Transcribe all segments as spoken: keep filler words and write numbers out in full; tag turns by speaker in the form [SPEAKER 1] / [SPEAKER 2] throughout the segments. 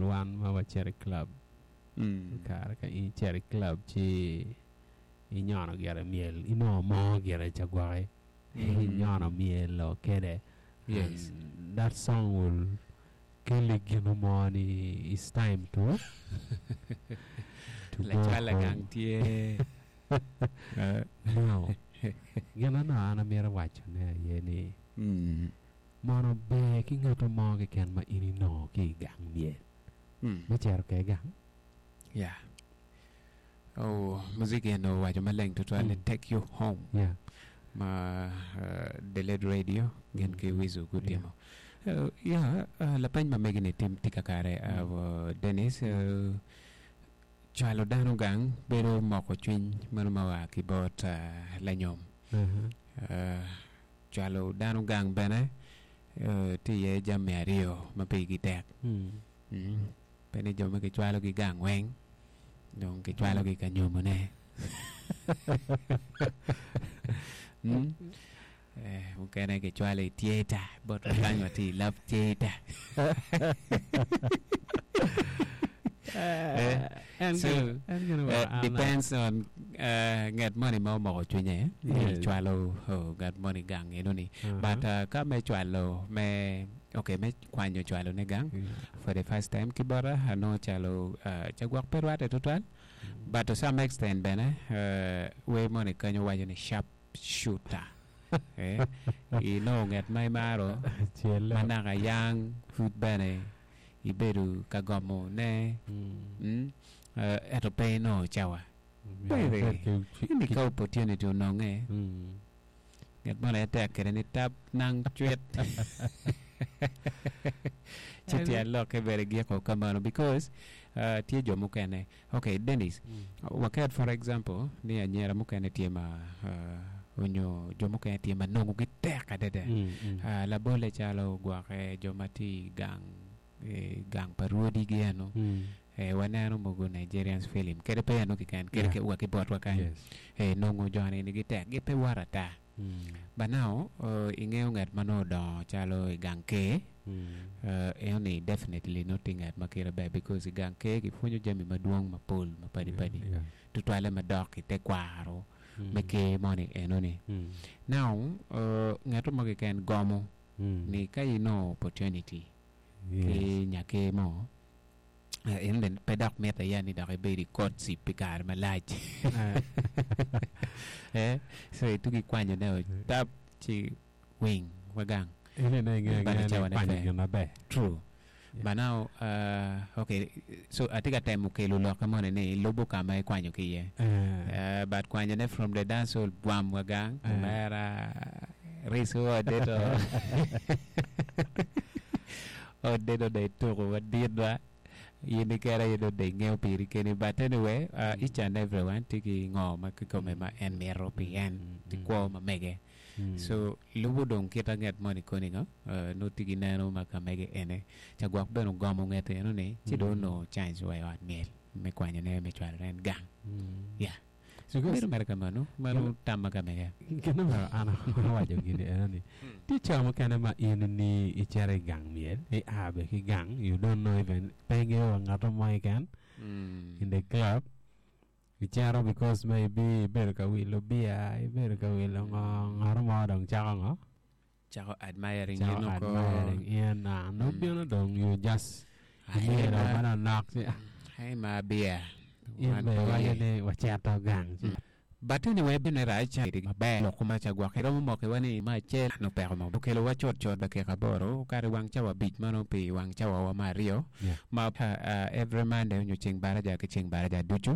[SPEAKER 1] wan ma wacito i club.
[SPEAKER 2] Mm.
[SPEAKER 1] Kare ka in icito i club ci inyono gire myel, inongo mo gire ca gwoki.
[SPEAKER 2] Mm.
[SPEAKER 1] Inyono myel o kede.
[SPEAKER 2] Yes.
[SPEAKER 1] And that song will kelli gino mo ni it's time to to go
[SPEAKER 2] Lacwal
[SPEAKER 1] home.
[SPEAKER 2] gang tye. Eh.
[SPEAKER 1] Now, gin ano an amito wacone aye ni
[SPEAKER 2] Mm.
[SPEAKER 1] mono ber ki ng'ato mo keken ma in inongo ki i gang myel.
[SPEAKER 2] Mm.
[SPEAKER 1] Me cito ke gang.
[SPEAKER 2] Yeah. Oh, muziki eno waco maleng tutwal ni
[SPEAKER 1] Mm.
[SPEAKER 2] take you home.
[SPEAKER 1] Yeah.
[SPEAKER 2] Ma uh, The Led Radio gin ki
[SPEAKER 1] Mm.
[SPEAKER 2] Wizu gutimo. Uh, yeah, uh, lapeny ma megi ni tim tye kakare
[SPEAKER 1] Mm.
[SPEAKER 2] uh, Dennis uh, cwalo dano gang bedo moko cwiny mano ma oa ki bot uh, lanyom.
[SPEAKER 1] Uh-huh.
[SPEAKER 2] Uh, cwalo dano gang bene uh, tye iye jami aryo ma pigi tek.
[SPEAKER 1] Mm.
[SPEAKER 2] Mm. Pe ni jo ma gicwalogi gang weng dong gicwalogi ka nyomone. Mm. Eh, mukene gicwalo i theater bot kany watye i love theater. Eh,
[SPEAKER 1] En
[SPEAKER 2] so,
[SPEAKER 1] gino- en gino
[SPEAKER 2] eh,
[SPEAKER 1] wa- an-
[SPEAKER 2] depends on uh, ngat moni ma omoko cwinye ni
[SPEAKER 1] Yes.
[SPEAKER 2] cwalo oh, ngat moni gang eno ni
[SPEAKER 1] Uh-huh.
[SPEAKER 2] but uh, ka me cwalo me okay me kwanyo cwalo ne gang
[SPEAKER 1] Yeah.
[SPEAKER 2] for the first time ki bota anongo calo uh, ca gwok pe rwatte tutwal but to some extent bene uh, wer moni kanyo waco ni sharp shooter eh, inongo ngat ma imaro
[SPEAKER 1] Cel.
[SPEAKER 2] ma naka yang pud bene ibedo ka gomo ne
[SPEAKER 1] Mm.
[SPEAKER 2] mm, uh, ento pe inongo cawa
[SPEAKER 1] Myero
[SPEAKER 2] Bebe.
[SPEAKER 1] ibed ki-
[SPEAKER 2] ini
[SPEAKER 1] ki-
[SPEAKER 2] ka opportunity ononge
[SPEAKER 1] Mm.
[SPEAKER 2] ngat moni aye tek kede ni tap nang cwit ci tyen lokke bene giko kamano because uh, tye jo mukene okay Dennis
[SPEAKER 1] Mm.
[SPEAKER 2] waket for example ni anyira mukene tye ma uh, onyo jo mukene tye ma nongo gi tek adada
[SPEAKER 1] Mm, mm.
[SPEAKER 2] uh, labole calo gwoke jo ma tye i gang eh, gang pa rwodigi eno
[SPEAKER 1] Mm.
[SPEAKER 2] eh, waneno mogo Nigerians film kede pe eno kiken kede
[SPEAKER 1] Yeah.
[SPEAKER 2] ke wa ki botwa kany
[SPEAKER 1] Yes.
[SPEAKER 2] eh, nongo joni ni gitek gipe wot ata
[SPEAKER 1] Mm.
[SPEAKER 2] but now uh, ing'eyo ng'at ma nodongo calo i gang ker
[SPEAKER 1] Mm.
[SPEAKER 2] uh, eno ni definitely nongo tye ng'at ma kite ber because i gang ker gipwonyo jami madwong mapol mapadi padi
[SPEAKER 1] Yeah.
[SPEAKER 2] tutwalle madok i tekwaro
[SPEAKER 1] Mm.
[SPEAKER 2] me ker moni eno ni
[SPEAKER 1] Mm.
[SPEAKER 2] now uh, ng'ato mo keken gomo
[SPEAKER 1] Mm.
[SPEAKER 2] ni ka inongo opportunity
[SPEAKER 1] Yes.
[SPEAKER 2] ki nyaker mo eh, en bene pe dok mitte ya ni dok ibed i courtship pi kare malac
[SPEAKER 1] Eh.
[SPEAKER 2] eh, so itugi kwanyone o tap ci wing wagang
[SPEAKER 1] Ine ne ing'eyo
[SPEAKER 2] Bado
[SPEAKER 1] ang'eya ni
[SPEAKER 2] cawa ne
[SPEAKER 1] ikwanyo
[SPEAKER 2] pe.
[SPEAKER 1] gin maber.
[SPEAKER 2] true
[SPEAKER 1] Yeah.
[SPEAKER 2] but now uh, okay so atye ka temo kelo lokke moni ni ilubo kama ikwanyo ki iye
[SPEAKER 1] Eh.
[SPEAKER 2] Uh, but kwanyone from the dance hall bwam wagang
[SPEAKER 1] Eh.
[SPEAKER 2] omera risu odeto odeto de ituko madit ba in ikere in ode ing'eyo piri keni but anyway uh, each and everyone tye ki ngo ma kikome ma en mito pi en
[SPEAKER 1] Mm,
[SPEAKER 2] ti
[SPEAKER 1] mm.
[SPEAKER 2] kwo ma mege
[SPEAKER 1] Mm.
[SPEAKER 2] so lubo dong kita nget moni koni ngo uh, nongo tye ki neno ma ka mege ene ca gwok bene ogomo ngete eno ni ci dong
[SPEAKER 1] Mm.
[SPEAKER 2] onongo chance wa i ot myel me kwanyone me cwalone en gang
[SPEAKER 1] Mm.
[SPEAKER 2] Yeah.
[SPEAKER 1] So
[SPEAKER 2] bedo mere kamano mano tam ma ka mege
[SPEAKER 1] Gino ma an awaco gini eno ni tye co mukene ma in ni icito i gang myel ia be ki gang you don't know even pe ing'eyo wa ng'ato mo keken
[SPEAKER 2] Mm.
[SPEAKER 1] in the club icito because maybe ibedo ka wilo bia ibedo ka wilo ngo ng'ato mo dong cako ngo
[SPEAKER 2] cako admiring
[SPEAKER 1] cako
[SPEAKER 2] in oko
[SPEAKER 1] admiring in ah, no
[SPEAKER 2] Mm.
[SPEAKER 1] bino dong you just
[SPEAKER 2] Ai
[SPEAKER 1] imiro
[SPEAKER 2] ma-
[SPEAKER 1] manonok ci ah,
[SPEAKER 2] ai ma bia
[SPEAKER 1] in
[SPEAKER 2] Wan
[SPEAKER 1] be
[SPEAKER 2] pe
[SPEAKER 1] iwaco
[SPEAKER 2] iye.
[SPEAKER 1] ni wacito gang ci
[SPEAKER 2] But anyway, bene rac maber lok ma ca gwok iromo mokiwa ni ma acel no peko mo okelo wa cut cut dakika aboro kare wang cawa abic mano pi wang cawa wa ma aryo
[SPEAKER 1] Yeah.
[SPEAKER 2] ma uh, uh, every Monday onyo ceng baraja ki ceng baraja ducu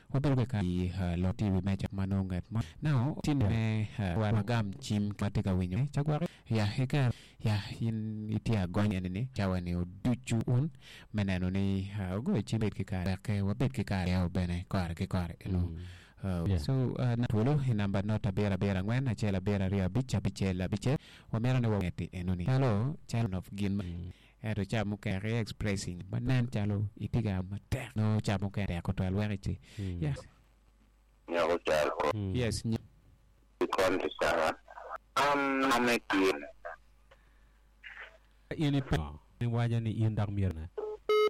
[SPEAKER 2] wabedo ka i uh, lot T V meca ma nongo ngat mo now tin me uh, wagam cim ma tye ka winyo ca gwok ya ika ya in itye agony eni ni cawa ni oducu un me neno ni uh, ogoyo cim bed ki kare wek wabed ki kare yao bene kore ki kore eno
[SPEAKER 1] Mm.
[SPEAKER 2] Uh,
[SPEAKER 1] Yeah.
[SPEAKER 2] So uh, na twolo i namba not abiro abiro ang'wen achiel abiro ariyo abich abicel abicel wamito ni wang'eti eno ni calo calo of gin ma
[SPEAKER 1] Mm.
[SPEAKER 2] ento ca mukene expressing ma nen calo itye ka matek no ca mukene tek otwal wek ici
[SPEAKER 1] Mm.
[SPEAKER 2] yes
[SPEAKER 3] Nyako calo
[SPEAKER 1] Mm.
[SPEAKER 2] yes ny-
[SPEAKER 3] konti sawa. An ame kin
[SPEAKER 1] in ipe ni waco ni in dok myero ne